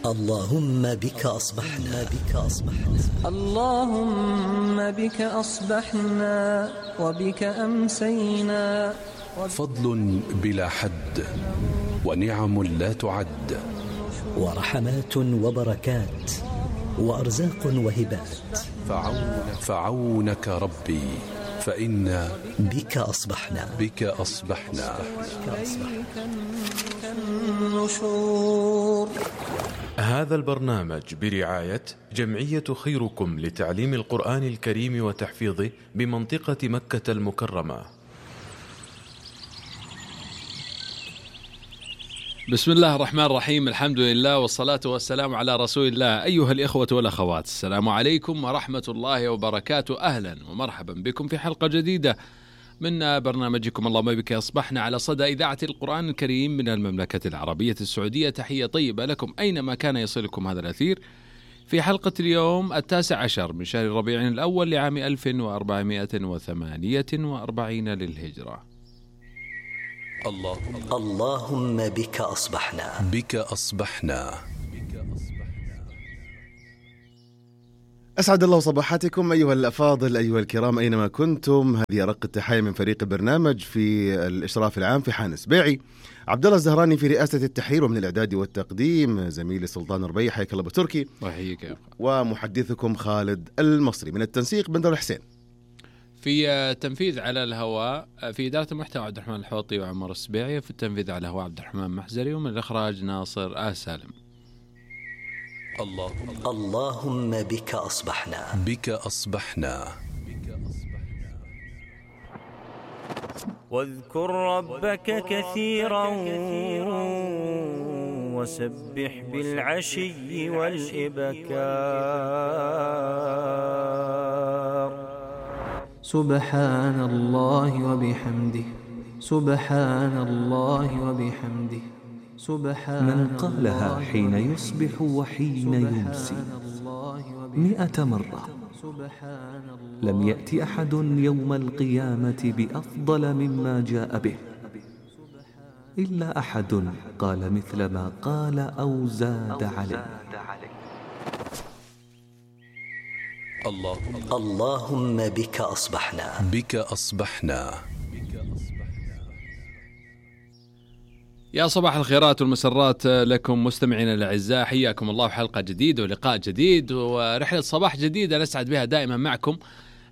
اللهم بك أصبحنا اللهم بك أصبحنا وبك أمسينا. فضل بلا حد ونعم لا تعد، ورحمات وبركات وأرزاق وهبات. فعونك ربي فإنا بك أصبحنا النشور. هذا البرنامج برعاية جمعية خيركم لتعليم القرآن الكريم وتحفيظه بمنطقة مكة المكرمة. بسم الله الرحمن الرحيم، الحمد لله والصلاة والسلام على رسول الله. أيها الإخوة والأخوات، السلام عليكم ورحمة الله وبركاته. أهلا ومرحبا بكم في حلقة جديدة من برنامجكم اللهم بك أصبحنا على صدى إذاعة القرآن الكريم من المملكة العربية السعودية. تحية طيبة لكم أينما كان يصلكم هذا الأثير في حلقة اليوم 19 من شهر ربيع الأول لعام 1448 للهجرة. اللهم بك أصبحنا. أسعد الله صباحاتكم أيها الأفاضل، أيها الكرام أينما كنتم. هذه أرق التحية من فريق البرنامج في الإشراف العام في حان سبيعي، عبد الله الزهراني في رئاسة التحرير، ومن الإعداد والتقديم زميلي سلطان الربيع. حياك الله بتركي. وحيك. ومحدثكم خالد المصري. من التنسيق بندر حسين، في التنفيذ على الهواء في إدارة المحتوى عبد الرحمن الحوطي وعمر السبيعي، في التنفيذ على الهواء عبد الرحمن محزري، ومن الإخراج ناصر سالم. اللهم بك أصبحنا. واذكر ربك كثيرا وسبح بالعشي والإبكار. سبحان الله وبحمده، سبحان الله وبحمده، سبحان من قالها حين يصبح وحين يمسي 100 مرة لم يأتي أحد يوم القيامة بأفضل مما جاء به إلا أحد قال مثل ما قال أو زاد عليه. اللهم بك أصبحنا. يا صباح الخيرات والمسرات لكم مستمعينا الأعزاء، حياكم الله في حلقة جديدة ولقاء جديد ورحلة صباح جديدة نسعد بها دائما معكم.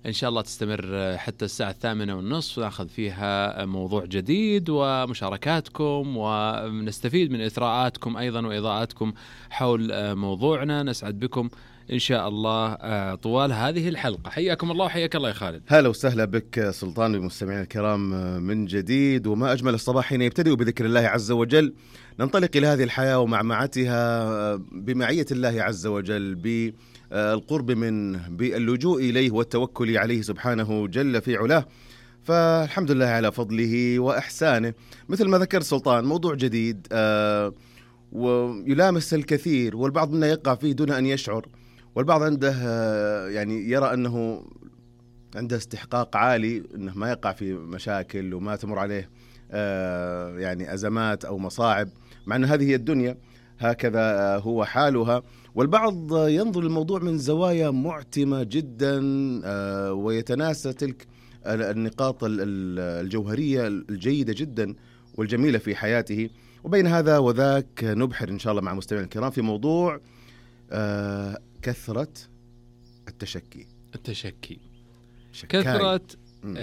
إن شاء الله تستمر حتى الساعة 8:30 ونأخذ فيها موضوع جديد ومشاركاتكم، ونستفيد من إثراءاتكم أيضا وإضاءاتكم حول موضوعنا. نسعد بكم إن شاء الله طوال هذه الحلقة. حياكم الله وحياك الله يا خالد. هلا وسهلا بك سلطان والمستمعين الكرام من جديد. وما أجمل الصباح حين يبتدئ بذكر الله عز وجل. ننطلق إلى هذه الحياة ومعمعتها بمعية الله عز وجل، بالقرب منه، باللجوء إليه والتوكل عليه سبحانه جل في علاه. فالحمد لله على فضله وإحسانه. مثل ما ذكر سلطان، موضوع جديد ويلامس الكثير، والبعض منا يقع فيه دون أن يشعر، والبعض عنده يعني يرى أنه عنده استحقاق عالي أنه ما يقع في مشاكل وما تمر عليه يعني أزمات أو مصاعب، مع أن هذه هي الدنيا، هكذا هو حالها. والبعض ينظر للموضوع من زوايا معتمة جدا ويتناسى تلك النقاط الجوهرية الجيدة جدا والجميلة في حياته. وبين هذا وذاك نبحر إن شاء الله مع مستمعين الكرام في موضوع كثرة التشكي. كثرة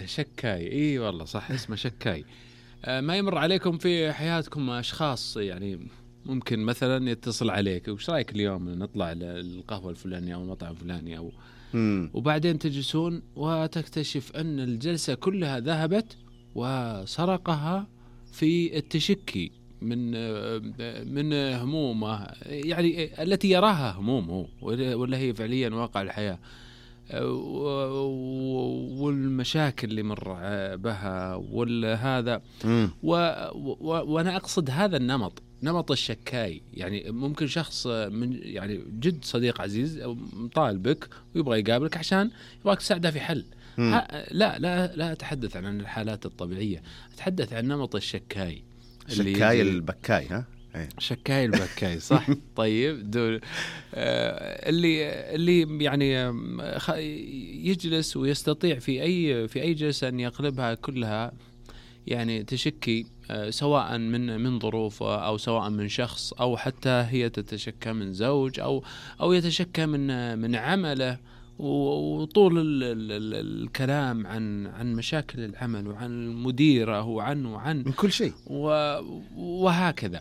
شكاي. إيه والله صح، اسمه شكاي. ما يمر عليكم في حياتكم أشخاص يعني ممكن مثلا يتصل عليك، وش رأيك اليوم نطلع للقهوة الفلانية أو المطعم الفلاني أو وبعدين تجلسون وتكتشف أن الجلسة كلها ذهبت وسرقها في التشكي من همومه، يعني التي يراها همومه ولا هي فعليا واقع الحياة، والمشاكل اللي مر بها والهذا. وأنا أقصد هذا النمط، نمط الشكاي. يعني ممكن شخص من يعني جد صديق عزيز طالبك ويبغى يقابلك عشان يبغاك تساعده في حل. لا أتحدث عن الحالات الطبيعية، أتحدث عن نمط الشكاي. الشكاي البكاي، ها شكاي البكاي صح. طيب دول اللي يعني يجلس ويستطيع في أي جلسة أن يقلبها كلها يعني تشكي، سواء من ظروفه أو سواء من شخص، أو حتى هي تتشكى من زوج أو يتشكى من عمله، وطول الكلام عن مشاكل العمل وعن المديرة وعن من كل شيء وهكذا.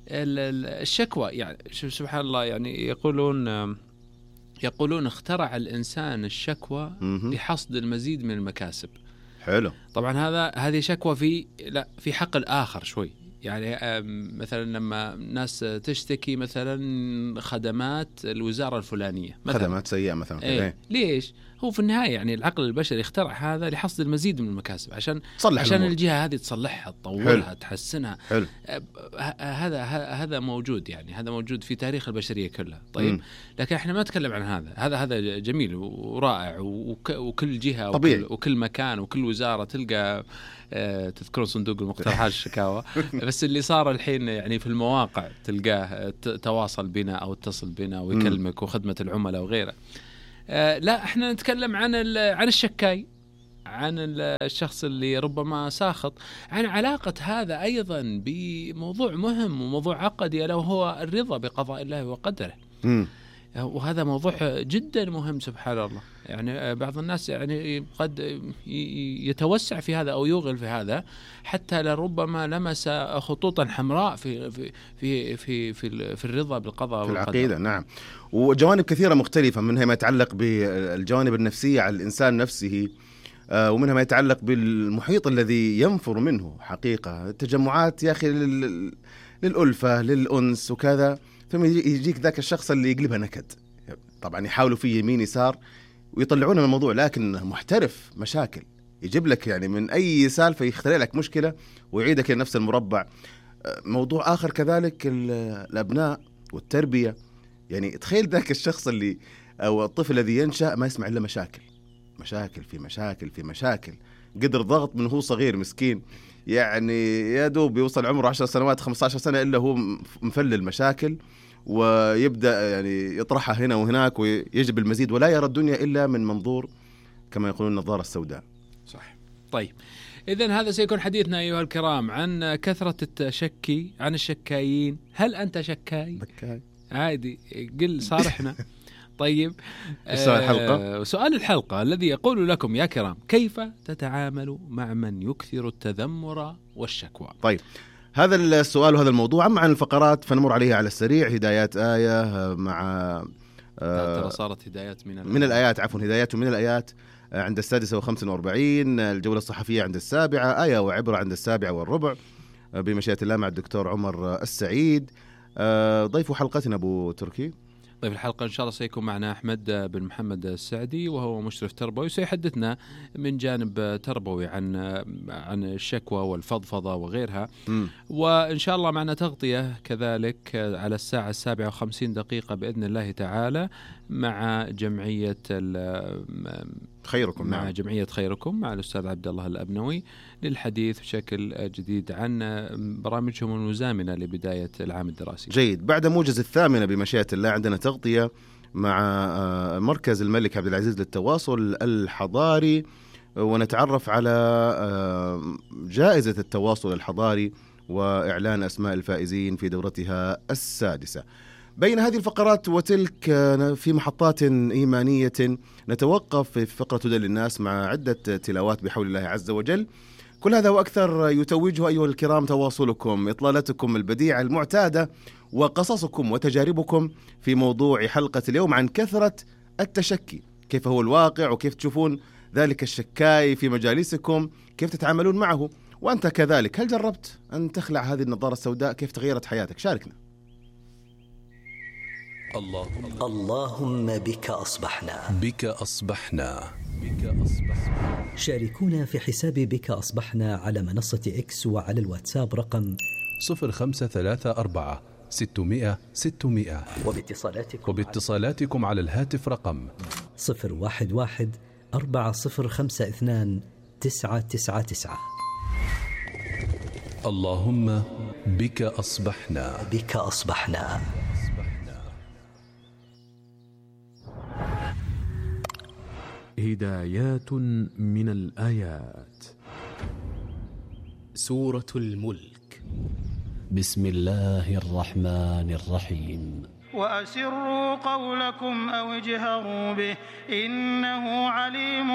الشكوى يعني سبحان الله، يعني يقولون اخترع الإنسان الشكوى لحصد المزيد من المكاسب. حلو. طبعا هذه شكوى في حق الآخر شوي، يعني مثلا لما ناس تشتكي مثلا خدمات الوزارة الفلانية مثلا، خدمات سيئة مثلا، ليش؟ هو في النهاية يعني العقل البشري اخترع هذا لحصد المزيد من المكاسب، عشان الجهة هذه تصلحها، تطورها، تحسنها. حلو. هذا موجود، يعني هذا موجود في تاريخ البشرية كلها. طيب لكن احنا ما نتكلم عن هذا جميل ورائع، وكل جهة وكل مكان وكل وزارة تلقى تذكرون صندوق المقترحات الشكاوى. بس اللي صار الحين يعني في المواقع تلقاه تواصل بنا أو اتصل بنا ويكلمك، وخدمة العملاء وغيره. لا، احنا نتكلم عن الشكاي، عن الشخص اللي ربما ساخط، عن علاقة هذا أيضا بموضوع مهم وموضوع عقدي، ألا وهو الرضا بقضاء الله وقدره. وهذا موضوع جدا مهم سبحان الله. يعني بعض الناس يعني قد يتوسع في هذا أو يوغل في هذا، حتى لربما لمس خطوطا حمراء في في في في في, في الرضا بالقضاء والقدر. في العقيدة نعم، وجوانب كثيرة مختلفة، منها ما يتعلق بالجوانب النفسية على الإنسان نفسه، ومنها ما يتعلق بالمحيط الذي ينفر منه حقيقة، تجمعات يا أخي للألفة للأنس وكذا، ثم يجيك ذاك الشخص اللي يقلبها نكد. طبعا يحاولوا فيه يمين يسار ويطلعون من الموضوع، لكن محترف مشاكل، يجيب لك يعني من أي سالفة يخترع لك مشكلة ويعيدك لنفس المربع. موضوع آخر كذلك الأبناء والتربية، يعني تخيل ذاك الشخص اللي أو الطفل الذي ينشأ ما يسمع إلا مشاكل في مشاكل في مشاكل، قدر ضغط من هو صغير مسكين، يعني يا دوب يوصل عمره 10 سنوات 15 سنة إلا هو مفلل مشاكل، ويبدأ يعني يطرحها هنا وهناك ويجب المزيد، ولا يرى الدنيا إلا من منظور كما يقولون النظارة السوداء. صح. طيب إذن هذا سيكون حديثنا أيها الكرام عن كثرة التشكي، عن الشكايين. هل أنت شكاي؟ بكاي عادي، قل صارحنا. طيب سؤال الحلقة الذي يقول لكم يا كرام: كيف تتعامل مع من يكثر التذمر والشكوى؟ طيب هذا السؤال وهذا الموضوع. أما عن الفقرات فنمر عليها على السريع. هدايات آية مع ترى صارت هدايات من الآيات، عفوا هدايات من الآيات عند 46. الجولة الصحفية عند 7. آية وعبرة عند 7:15 بمشيئة الله مع الدكتور عمر السعيد. ضيف حلقتنا أبو تركي. طيب الحلقة إن شاء الله سيكون معنا أحمد بن محمد السعدي، وهو مشرف تربوي، سيحدثنا من جانب تربوي عن الشكوى والفضفضة وغيرها. وإن شاء الله معنا تغطية كذلك على الساعة 7:50 بإذن الله تعالى مع جمعية خيركم. مع جمعية خيركم مع الأستاذ عبد الله الأبنوي للحديث بشكل جديد عن برامجهم المزامنة لبداية العام الدراسي. جيد. بعد موجز 8 بمشيئة الله عندنا تغطية مع مركز الملك عبد العزيز للتواصل الحضاري، ونتعرف على جائزة التواصل الحضاري وإعلان أسماء الفائزين في دورتها 6. بين هذه الفقرات وتلك في محطات إيمانية نتوقف في فقرة هدى للناس مع عدة تلاوات بحول الله عز وجل. كل هذا وأكثر يتوجه أيها الكرام تواصلكم، إطلالتكم البديعة المعتادة، وقصصكم وتجاربكم في موضوع حلقة اليوم عن كثرة التشكي. كيف هو الواقع، وكيف تشوفون ذلك الشكاي في مجالسكم، كيف تتعاملون معه، وأنت كذلك هل جربت أن تخلع هذه النظارة السوداء؟ كيف تغيرت حياتك؟ شاركنا. اللهم بك أصبحنا. بك أصبحنا. شاركونا في حساب بك أصبحنا على منصة إكس وعلى الواتساب رقم 0534 600 600، وباتصالاتكم على الهاتف رقم 011 4052 999. اللهم بك أصبحنا. بك أصبحنا. هدايات من الآيات. سورة الملك. بسم الله الرحمن الرحيم. وأسروا قولكم أو اجهروا به إنه عليم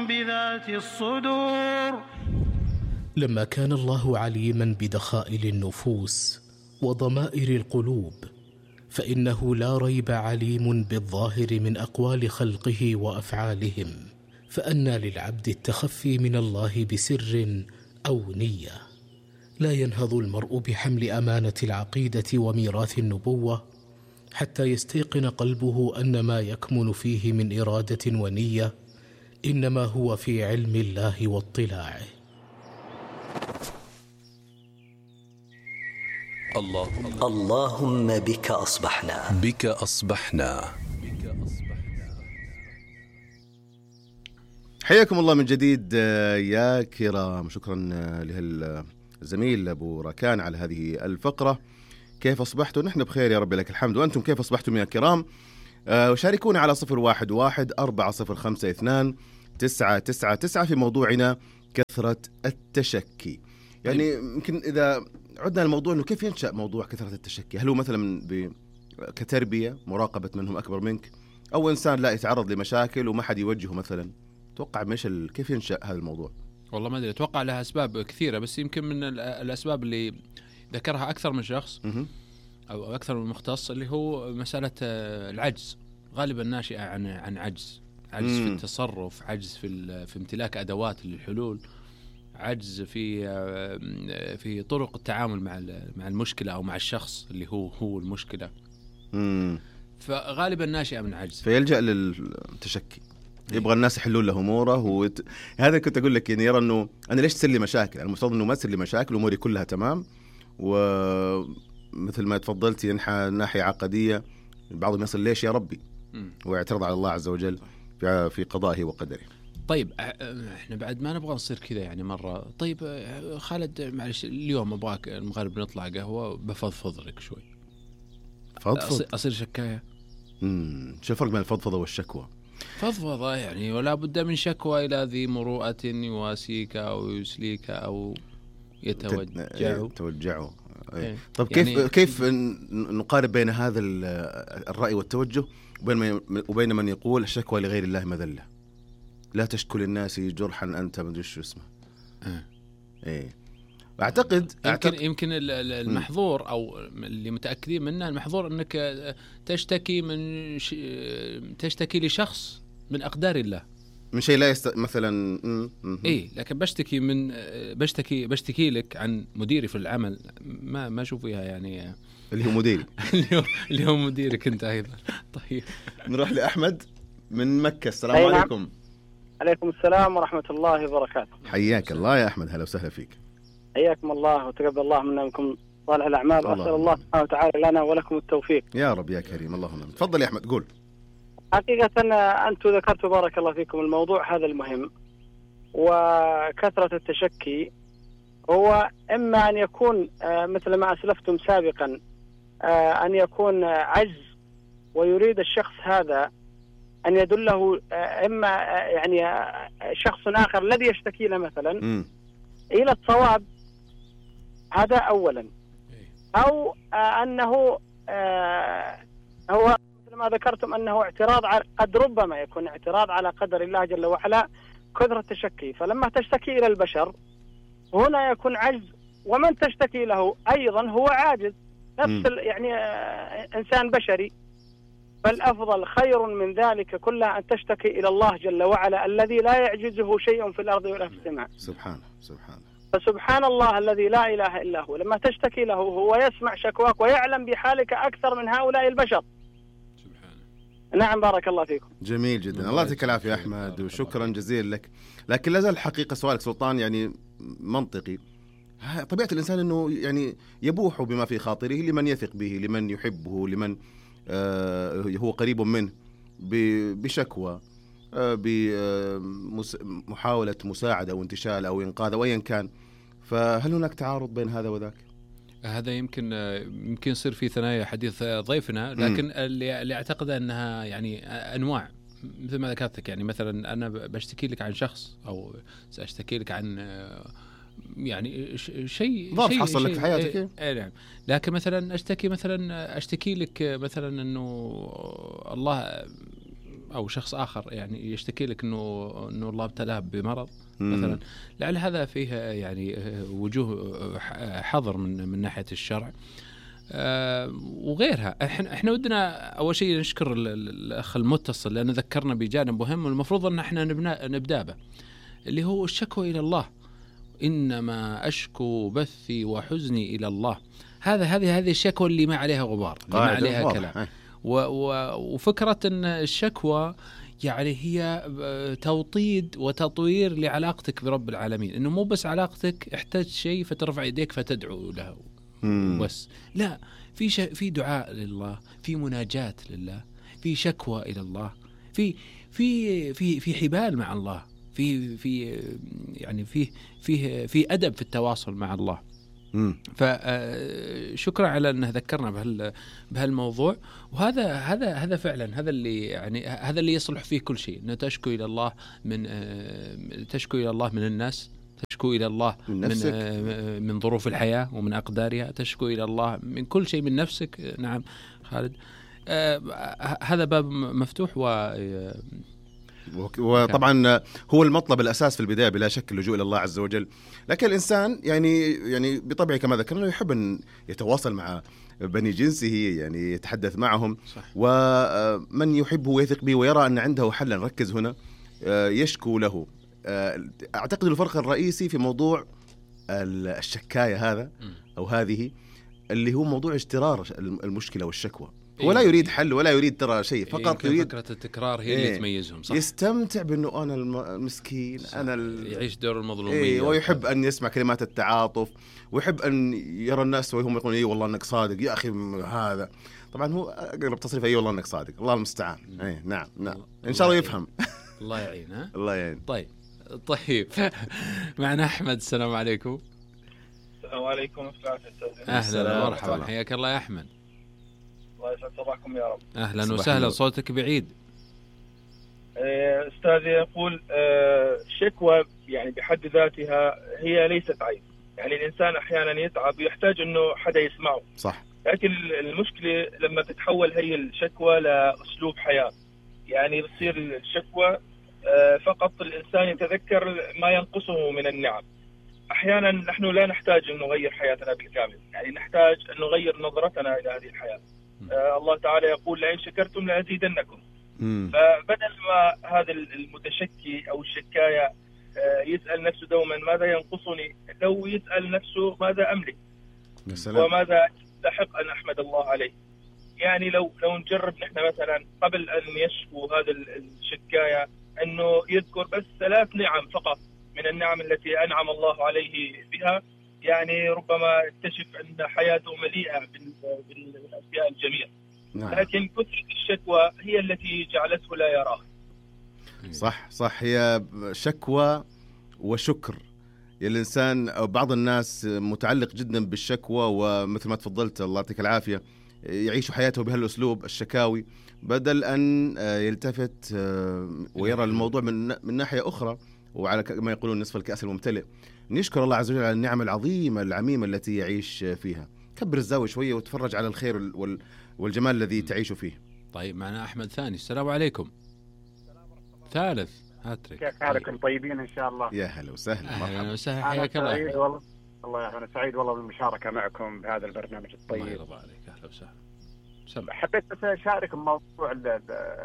بذات الصدور. لما كان الله عليما بدخائل النفوس وضمائر القلوب، فإنه لا ريب عليم بالظاهر من أقوال خلقه وأفعالهم، فأنى للعبد التخفي من الله بسر أو نية. لا ينهض المرء بحمل أمانة العقيدة وميراث النبوة حتى يستيقن قلبه أن ما يكمن فيه من إرادة ونية إنما هو في علم الله واطلاعه. اللهم بك أصبحنا. بك أصبحنا. حياكم الله من جديد يا كرام. شكرا للزميل أبو ركان على هذه الفقرة. كيف أصبحتوا؟ نحن بخير يا رب لك الحمد. وأنتم كيف أصبحتم يا كرام؟ وشاركونا على 011-405-299 في موضوعنا كثرة التشكي. يعني يمكن إذا عدنا الموضوع أنه كيف ينشأ موضوع كثرة التشكي؟ هل هو مثلا كتربية مراقبة منهم أكبر منك، أو إنسان لا يتعرض لمشاكل وما حد يوجهه مثلا؟ توقع كيف ينشأ هذا الموضوع؟ والله ما أدري، أتوقع لها أسباب كثيرة، بس يمكن من الأسباب اللي ذكرها أكثر من شخص أو أكثر من مختص اللي هو مسألة العجز، غالبا ناشئة عن عجز في التصرف، عجز في امتلاك أدوات للحلول، عجز في طرق التعامل مع المشكلة أو مع الشخص اللي هو المشكلة. فغالبا ناشئة من عجز، فيلجأ للتشكي. يبغى الناس يحلون له اموره. هذا كنت اقول لك، يعني يرى انه انا ليش تصير لي مشاكل؟ المفترض انه ما تصير لي مشاكل، اموري كلها تمام. ومثل ما تفضلت ينحى ناحيه عقديه، بعضهم يصل ليش يا ربي ويعترض على الله عز وجل في قضائه وقدره. طيب احنا بعد ما نبغى نصير كذا يعني مره. طيب خالد معلش، اليوم ابغاك المغرب نطلع قهوه بفضفض لك شوي. فضفض؟ اصير شكايه. شو الفرق بين الفضفضه والشكوى؟ فضفضة يعني ولا بد من شكوى إلى ذي مروءة يواسيك أو يسليك أو يتوجعوا. إيه. طب كيف نقارب بين هذا الرأي والتوجه وبين من يقول الشكوى لغير الله مذلة، لا تشكو للناس جرحا أنت ما ادري شو اسمه. إيه. أعتقد يمكن المحظور أو اللي متأكدين منه، المحظور أنك تشتكي لشخص من أقدار الله، من شيء لا مثلا إيه. لكن بشتكي لك عن مديري في العمل، ما أشوف فيها يعني اللي هو مديري اللي هو مديرك أنت أيضا. طيب نروح لأحمد من مكة. السلام عليكم. عليكم السلام ورحمة الله وبركاته. حياك الله يا أحمد، هلا وسهلا فيك. حياكم الله وتقبل الله منا منكم صالح الأعمال، وأسأل الله سبحانه وتعالى لنا ولكم التوفيق يا رب يا كريم. اللهم آمين. تفضل يا أحمد. قول. حقيقة أنتم ذكرتوا بارك الله فيكم الموضوع هذا المهم، وكثرة التشكي هو إما أن يكون مثل ما أسلفتم سابقا، أن يكون عجز ويريد الشخص هذا أن يدله إما يعني شخص آخر الذي يشتكي له مثلا إلى الصواب، هذا أولا. أو أنه هو مثل ما ذكرتم أنه اعتراض قد ربما يكون اعتراض على قدر الله جل وعلا، كثرة التشكي. فلما تشتكي إلى البشر هنا يكون عجز، ومن تشتكي له أيضا هو عاجز، نفس يعني إنسان بشري. فالأفضل خير من ذلك كله أن تشتكي إلى الله جل وعلا الذي لا يعجزه شيء في الأرض ولا في السماء. سبحانه. فسبحان الله الذي لا إله إلا هو، لما تشتكي له هو يسمع شكواك ويعلم بحالك أكثر من هؤلاء البشر. سبحانه. نعم بارك الله فيكم. جميل جدا. الله يعطيك العافية أحمد، وشكرا جزيلا لك. لكن لازال الحقيقة سؤالك سلطان يعني منطقي. طبيعة الإنسان أنه يعني يبوح بما في خاطره لمن يثق به، لمن يحبه، لمن هو قريب منه، بشكوى، بمحاولة مساعدة أو انتشال أو إنقاذ أو أيا كان. فهل هناك تعارض بين هذا وذاك؟ هذا يمكن يصير في ثنايا حديث ضيفنا، لكن اللي أعتقد أنها يعني أنواع مثل ما ذكرتك. يعني مثلا أنا بشتكي لك عن شخص أو سأشتكي لك عن يعني شيء ضرب حصل لك في حياتك. نعم. لكن مثلا أشتكي لك مثلا أنه الله أو شخص آخر يعني يشتكي لك أنه الله ابتلاه بمرض مثلا، لعل هذا فيه يعني وجوه حظر من ناحية الشرع وغيرها. احنا ودنا أول شيء نشكر الأخ المتصل لأنه ذكرنا بجانب مهم والمفروض أن احنا نبدأ به، اللي هو الشكوى إلى الله. إنما أشكو بثي وحزني إلى الله. هذه الشكوى اللي ما عليها غبار، اللي ما عليها كلام. وفكرة أن الشكوى يعني هي توطيد وتطوير لعلاقتك برب العالمين، إنه مو بس علاقتك احتاج شيء فترفع يديك فتدعو له بس، لا، في دعاء لله، في مناجاة لله، في شكوى إلى الله، في حبال مع الله، في يعني في أدب في التواصل مع الله. فشكرا على أنه ذكرنا بهالموضوع. وهذا فعلا هذا اللي يصلح فيه كل شيء، أنه تشكو إلى الله من الناس، تشكو إلى الله من ظروف الحياة ومن أقدارها، تشكو إلى الله من كل شيء، من نفسك. نعم خالد، هذا باب مفتوح وطبعا هو المطلب الأساس في البداية بلا شك اللجوء إلى الله عز وجل. لكن الإنسان يعني بطبعه كما ذكرنا يحب أن يتواصل مع بني جنسه، يعني يتحدث معهم. صح. ومن يحبه ويثق به ويرى أن عنده حلا، نركز هنا، يشكو له. أعتقد الفرق الرئيسي في موضوع الشكاية هذا أو هذه اللي هو موضوع اجترار المشكلة والشكوى. ولا يريد حل ولا يريد ترى شيء، فقط يريد فكرة التكرار هي اللي تميزهم. صح. يستمتع بأنه أنا المسكين، أنا يعيش دور المظلومية. ويحب أن يسمع كلمات التعاطف، ويحب أن يرى الناس وهم يقولون إيه والله أنك صادق يا أخي. هذا طبعا هو أقرب تصريف أي والله أنك صادق، الله المستعان. نعم إن شاء الله يفهم. الله يعين. الله يعين. طيب معنا أحمد. السلام عليكم. السلام عليكم. أهلا ومرحبا، حياك الله يا أحمد. الله يسعد صباحكم يا رب. أهلا وسهلا، صوتك بعيد. أستاذي يقول الشكوى يعني بحد ذاتها هي ليست عيب، يعني الإنسان أحيانا يتعب ويحتاج أنه حدا يسمعه. صح. لكن المشكلة لما تتحول هي الشكوى لأسلوب حياة، يعني بتصير الشكوى فقط الإنسان يتذكر ما ينقصه من النعم. أحيانا نحن لا نحتاج أن نغير حياتنا بالكامل، يعني نحتاج أن نغير نظرتنا إلى هذه الحياة. الله تعالى يقول لئن شكرتم لأزيدنكم. فبدل ما هذا المتشكي أو الشكاية يسأل نفسه دوما ماذا ينقصني، لو يسأل نفسه ماذا أملك وماذا يستحق أن أحمد الله عليه. يعني لو نجرب نحن مثلا قبل أن يشكو هذا الشكاية أنه يذكر بس 3 نعم فقط من النعم التي أنعم الله عليه بها، يعني ربما يكتشف أن حياته مليئة بالأشياء الجميلة. نعم. لكن كثرة الشكوى هي التي جعلته لا يراها. صح، هي شكوى وشكر. الإنسان أو بعض الناس متعلق جدا بالشكوى، ومثل ما تفضلت الله يعطيك العافية يعيش حياته بهالأسلوب الشكاوي، بدل أن يلتفت ويرى الموضوع من ناحية أخرى، وعلى ما يقولون نصف الكأس الممتلئ. نشكر الله عز وجل على النعم العظيمة العميمة التي يعيش فيها. كبر الزاوية شوية وتفرج على الخير والجمال الذي تعيش فيه. طيب معنا أحمد ثاني. السلام عليكم. ثالث هاتريك. كيف حالكم؟ طيبين إن شاء الله. يا هلا وسهلا. أهلا وسهلا، حياك الله. والله أنا سعيد والله بالمشاركة معكم بهذا البرنامج الطيب. الله يرضى عليك. أهلا وسهلا. حبيت بس أشارك موضوع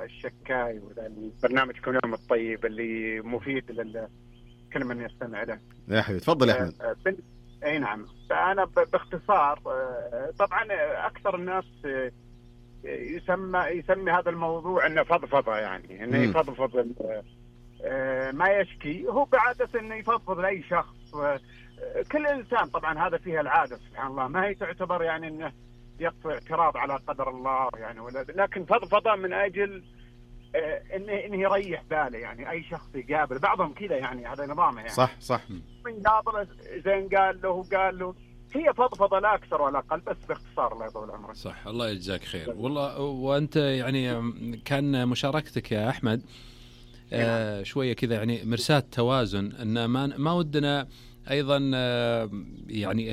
الشكاي والبرنامجكم اليوم الطيب اللي مفيد لكل من يستمع له. يا حبيبي تفضل يا أحمد. أي نعم. فأنا باختصار طبعا أكثر الناس يسمي هذا الموضوع إنه فضفضة، يعني إنه يفضفض ما يشكي. هو بعادة إنه يفضفض لأي شخص. كل إنسان طبعا هذا فيها العادة سبحان الله، ما هي تعتبر يعني إنه يقف اعتراض على قدر الله يعني، لكن فضفضة من أجل انه يريح باله. يعني اي شخص يقابل بعضهم كذا، يعني هذا نظامه يعني. صح من قابله زين قال له هي فضفضه لا اكثر ولا اقل، بس باختصار الله يطول عمرك. صح، الله يجزاك خير والله. وانت يعني كان مشاركتك يا احمد شويه كذا يعني مرساة توازن، ان ما ودنا ايضا يعني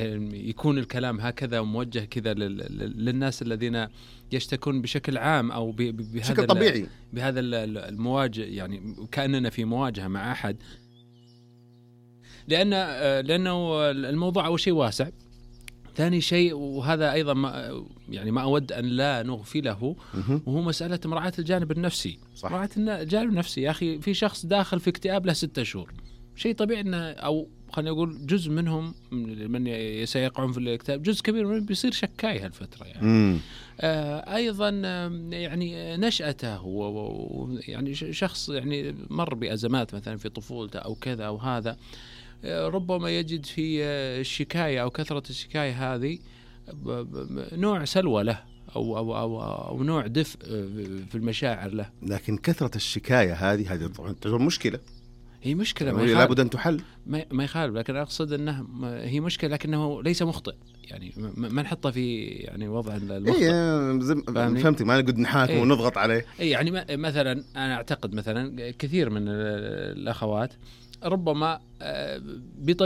يكون الكلام هكذا موجه كذا للناس الذين يشتكون بشكل عام او بشكل طبيعي بهذا المواجهه، يعني كاننا في مواجهه مع احد، لانه الموضوع اول شيء واسع. ثاني شيء، وهذا ايضا ما اود ان لا نغفله، وهو مساله مراعاه الجانب النفسي. مراعاه الجانب النفسي يا اخي، في شخص داخل في اكتئاب له 6 شهور، شيء طبيعي انه، او خلينا نقول جزء منهم من سيقعون في الاكتئاب، جزء كبير منهم بيصير شكاي هالفتره يعني. ايضا يعني نشأته يعني شخص يعني مر بأزمات مثلا في طفولته او كذا او هذا، ربما يجد في الشكاية أو كثرة الشكاية هذه نوع سلوى له أو نوع دفء في المشاعر له. لكن كثرة الشكاية هذه تعتبر مشكلة. هي مشكلة لابد أن تحل، ما يخالف، لكن أقصد أنه هي مشكلة لكنه ليس مخطئ، يعني ما نحطه في يعني وضع المخطئ. فهمتك، ما نقعد نحاكم ونضغط عليه. يعني مثلا أنا أعتقد مثلا كثير من الأخوات ربما